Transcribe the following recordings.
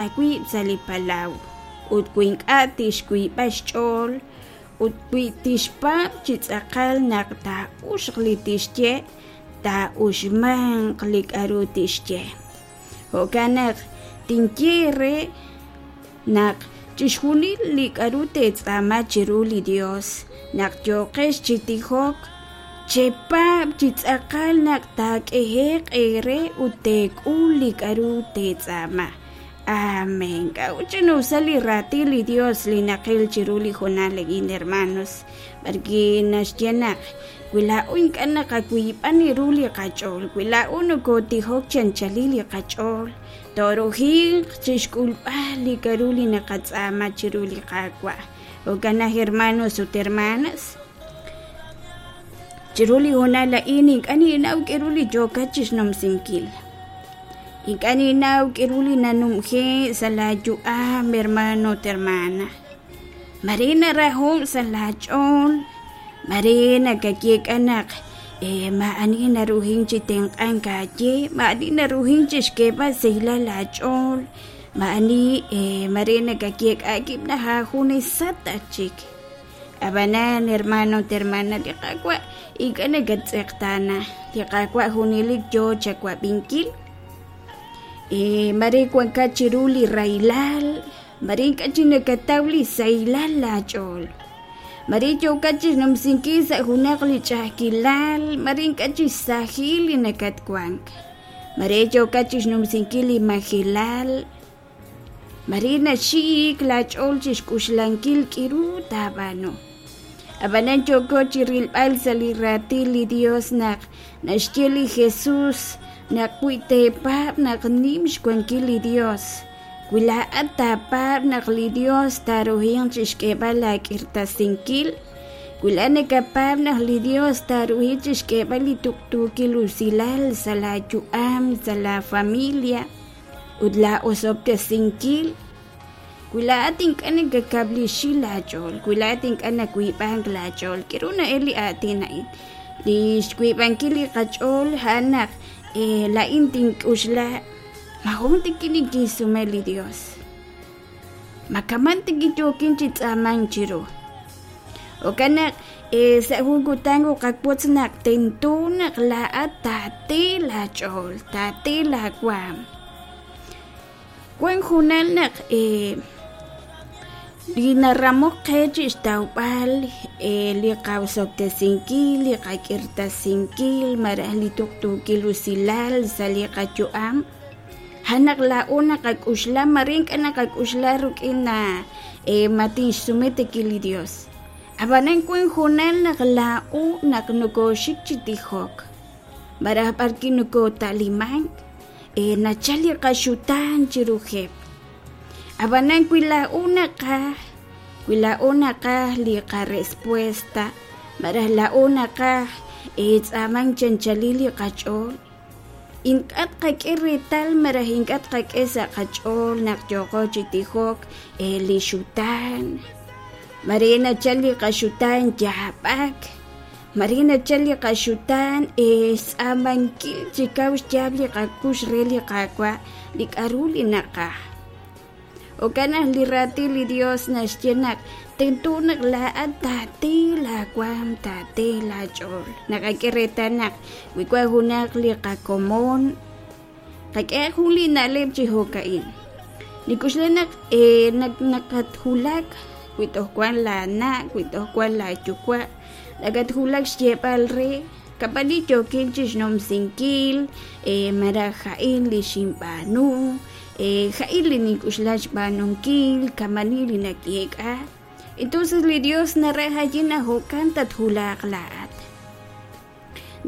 Aawib' sa' li palaw, ut wi ink'a' tixwiib'a xch'ool, ut wi tixpaab' chi tz'aqal naq taa'uxq li tixye, taa'uxmanq li k'a'ru tixye. Jo'kan naq tinye eere naq chixjunil li k'a'ru teetz'aama chiru li Dios naq yooqex chi tijok, chepaab' chi tz'aqal naq taak'ehe'q eere ut teek'ul li k'a'ru teetz'aama. Amén. K'a'ut ch'ina'usal li raatin li Dios li naqil chiru li hoonal a'in, hermanos? B'arwi' naxye naq wi laa'o ink'a' naqawiib'an ru li qach'ool, wi laa'o nokootijok chi anchalil li qach'ool, tooruhinq chixk'ulb'al li k'a'ru li naqatz'aama chiru li Qaawa'. Jo'kan naq, hermanos ut hermanas, chiru li hoonal a'in ink'a' ninnaw k'a'ru li yookat chixnumsinkil. Ink'a' ninnaw k'a'ru li nanumje' sa' laa yu'am, hermano ut hermana. Mare naraho' sa' laa ch'ool, mare nakayeek'a naq maa'ani naruhin chi tenq'ank aaye, maa'ani naruhin chixk'eeb'al sahilal aach'ool, maa'ani mare nakayeek'a aawib' naq aajunesat aj chik. Ab'anan, hermano ut hermana, li Qaawa' ink'a' nakattz'eqtaana. Li Qaawa' junelik yoo chawab'inkil. Mare wankat chiru li rahilal, mare ink'a' chik nakataw li sahilal laach'ool. Mare yookat chixnumsinkil sa' junaq li ch'a'ajkilal, mare ink'a' chik sahil li nakatwank. Mare yookat chixnumsinkil li majelal. Mare naxiik laach'ool chi xk'uxlankil k'iru taab'aanu. Ab'anan yooko chi rilb'al sa' li Raatin li Yos naq naxye li Jesús naq wi teepaab' naq nim xwankil li Yos, wi laa'at taapaab' naq li Yos taaruhinq chi xk'eeb'al laak'irtasinkil, wi laa'at nakapaab' naq li Yos taaruhi chi xk'eeb'al li tuqtuukil usilal sa' laayu'am, sa' laafamilia, ut laa'osob'tesinkil. Wi laa'at ink'a' nakakab'lixi laach'ool, wi laa'at ink'a' nawiib'ank laach'ool, k'aru na'el li aatin a'in? Li xwiib'ankil li qach'ool a'an naq laa'in tink'uxla ma jun tiki nikinsume li Dios. Ma kaman tiki yookin chi tz'aamank chiru. Jo'kan naq sa' jun kutan uqawotz naq tento naq laa'at taate laach'ool, taate laawaam. Wank junal naq li naramok qe chi xtawb'al li qaosob'tesinkil, li qak'irtasinkil malaj li tuqtuukil usilal sa' li qayu'am, a'an naq laa'o naqak'uxla mare ink'a' naqak'uxla rik'in ma tinxsume tiki li Dios. Ab'anan wank hoonal naq laa'o naq nokooxik chi tijok malaj b'arwi' nokoota'limank nachal li qaxutaan chiruheb'. Ab'anan wi laa'o naqaj, wi laa'o naqaj li qarespuesta malaj laa'o naqaj tz'aamank chi anchalil li qach'ool, Ink'a' tqak'e reetal malaj ink'a' tqak'e sa' qach'ool naq yooqo chi tijok li xutaan. Mare nachal li qaxutaan yaab'ak, mare nachal li qaxutaan xtz'aamankil chi kaw xyaab' li qakux re li Qaawa' li k'aru li naqaj. Jo'kan naq li Raatin li Yos naxye naq tento naq laa'at taate laawaanm, taate laach'ool. Naqak'e reetal naq wi wank junaq li qakomon, qak'ehaq jun li na'leb' chi jo'ka'in. Nik'uxla naq nakatwulak wi toj wank laana', wi toj wank laayuwa', nakatwulak xyeeb'al re kab'ani yookin chi xnumsinkil malaj a'in li xinb'aanu. Ja'il li nink'uxla xb'aanunkil, kamani li nayeek'a. Entonces li Dios naraj ayin naq jo'kan tatwulaq laa'at.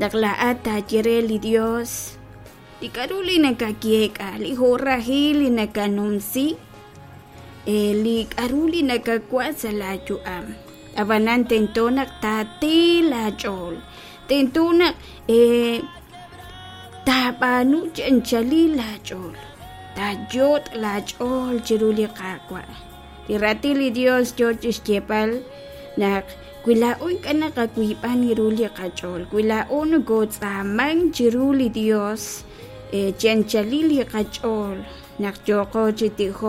Naq laa'at taaye re li Dios li k'a'ru li nakayeek'a, li jo'rajil li nakanumsi, li k'a'ru li nakawa' sa' laa yu'am. Ab'anan tento naq taate laach'ool, tento naq Taab'aanu chi anchalil laach'ool, taayot' laach'ool chiru li Qaawa'. Li Raatin li Yos yo chi xyeeb'al naq wi laa'o ink'a' naqawiib'an ru li qach'ool, wi laa'o nokootz'aamank chiru li Yos chi anchalil li qach'ool, Naq yooqo chi tijok.